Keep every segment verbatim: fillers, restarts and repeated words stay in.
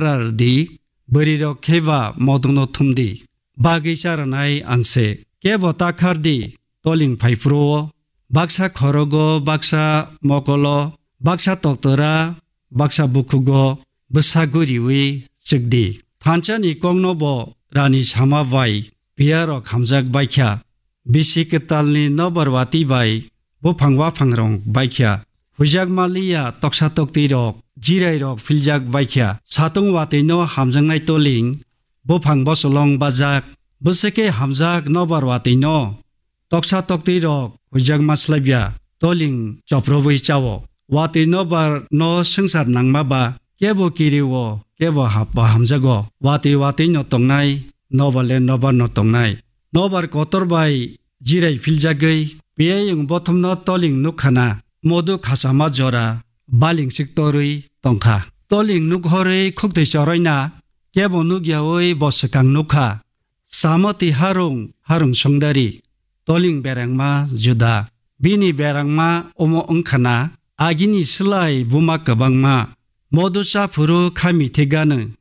rar di, bwrwirok khe ba modokno thum di. Bagwi cha rwnai ang se. Kebo ta khar di, toling phai phuru-o. Baksa khorogo, baksa mokolo, baksa toktora, baksa bukhugo bwsa guriwi chwk di. Thansani kokno bo rani sama bai piyarok hamjak baikha. Bisi kwtalni nobar watwi bai buphang waphangrok baikha. Huijakma liya toksa toktwirok, jirairok philjak baikha. Satung watwino hamjaknai toling, buphang bosolong bajak, bwswk khe hamjak nobar watwino. Toksa toktwirok huijakma slabya, toling choprobwi chao. Watwi nobar no swngchar nangma ba, kebo kiri-o, kebo hap-, ba hamjago. Watwi watwi no tongnai, nobar le nobar no tongnai. Nobar kotor bai jirai philjagwi, piyayung bothomno toling nukkhana, modu khachama jora, balingsik torwi tongkha. Toling nukhorwi khuktwi choroina, kebo nukyawi bo swkang nukha. Samoti harung, harung songdari, toling berangma juda. Bini berangma omo wngkhana, agini slai buma kwbangma. Modu chaphuru khami thigano,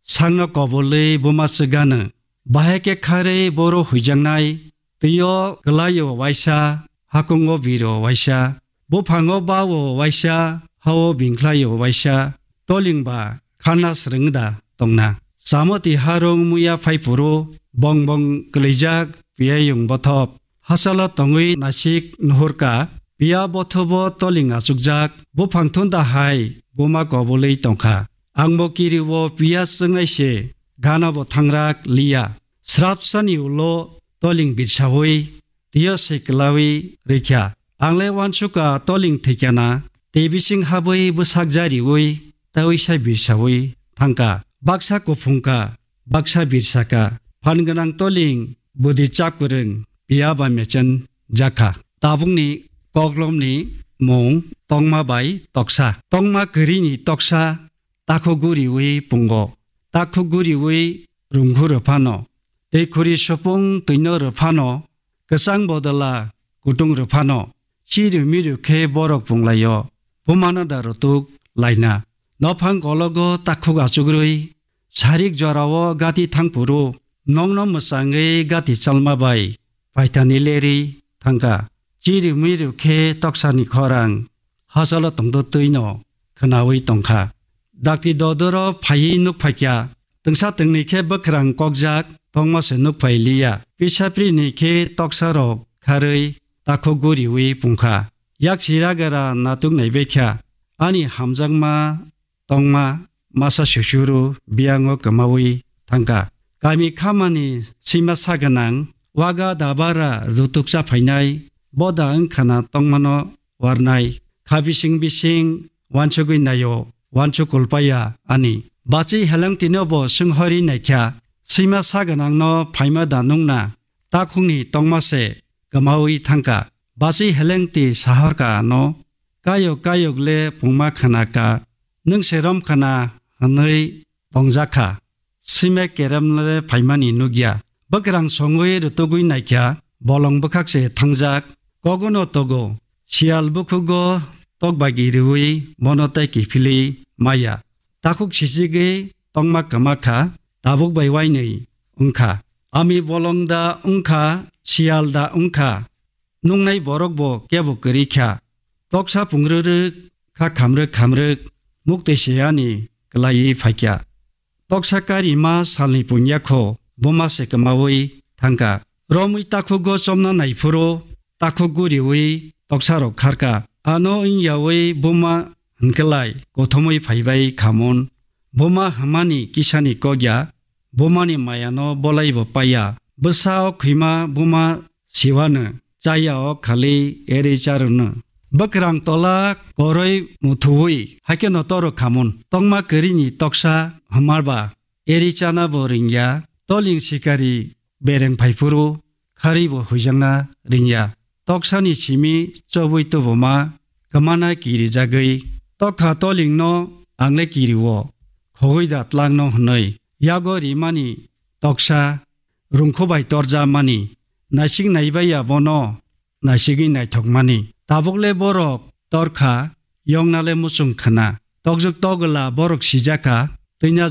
sangno kobolwi buma swgano. Bahai khe kharwi boro huijaknai, twio kwlaio waisa, hakungo biro waisa, buphango bao waisa, hao bingkhlaio waisa, tolingba khana swrwngda tongna. Samoti harung muya phaiphuru, bong bong kwlijak piyayung bothop. Hasalo tongwi nasik nuhurka, piya bothobo toling achukjak, buphang thunda hai buma kobolwi tongkha. Angbo kiriwo piya swngnai se, ganabo thangrak liya. Srapsani ulo toling birsawi, twiyo se kwlawi rwikha. Angle uansuka toling thwikhana, tei bising habwi bwsak jariwi, tawi sai birsawi thangka. Baksa kuphungka, baksa birsaka. Phan gwnang toling, budi chakwrwng, piya ba mechen jakha. Tabukni koklomni mung tongma bai toksa. Tongma kwrwini toksa, takhuk guriwi pungo, takhuk guriwi rungkhu rw phano, tei khuri supung twino rw phano, kwchang bodala kutung rw phano, chiru miru khe borok punglaio, bumano da rutuk laina. Nophang kologo takhuk achukrwi, sarik jorao gati thangphuru, nokno mwchangwi gati chalma bai, paithani lerwi thangkha. Chiru miru khe toksani khorang hachalo tongdo twino khwnawi tongkha. Dakti dodoro phaiwi nuk phaikha. Twngsa twngni khe bwkhrang kokjak tongma se nuk phai liya. Pisaprini khe toksarok kharwi takhuk guriwi pungkha. Yak sira gara natuk naibaikha. Ani hamjakma tongma masa susuru biyango kwmawi thangkha. Kami khamani sima sa gwnang, waga dabara rutuk cha phainai, boda wngkhana tongmano warnai. Kha bising bising wansugwi naio, wansuk kulpaya ani. Bachi helengtino bo swnghori naikha, sima sa gwnangno phaima da nungna, takhukni tongma se kwmawi thangkha. Bachi helengti sahorka ano, kayok kayok le pungma khana ka, nwng se rom khana hwnwi tongjakha. Sime kerem le phaimani nukya. Bwkrang songwi rutugwi naikha, bolong bwkhak se thangjak. Kogono togo, siyal bukhugo tokbagi riwi bono tei kiphilwi maya. Takhuk sichigwi tongma kwma kha, tabuk bai wainwi wngkha. Ami bolong da wngkha, siyal da wngkha, nungnai borok bo kebo kwrwi kha. Toksa pungrwrwk kha khamrwk khamrwk, muktwi se ani kwlaiwi phaikha. Toksa karima salni punya kho buma se kwmawi thangkha. Romwi takhugo chomna naiphuru takhuk guriwi toksarok kharkha. Ano wngyawi buma hwnkhelai kothomwi phaibai khamon. Buma hwnmani kisani kokya, bumani mayano bolaibo paiya. Bwsa o khwima buma siwano, chaya o khali eri charwno. Bwkrang tola koroi muthuwi, haikhe no toro khamun. Tongma kwrwini toksa hwnmarba, eri chana bo ringya, toling sikari bereng phaiphuru, khari bo huijakna ringya. Toksani simi chobwi tubuma, kwmana kirijagwi, tokha tolingno angle kiriwo, khogwi da tlangno hwnwi. Yago rimani toksa, rungkhu bai torja mani, naisik naibai ya bono, naisigwi naithok mani. Tabuk le borok torkha, yongna le muchung khna. Tokjwk togwla borok sijakha, twina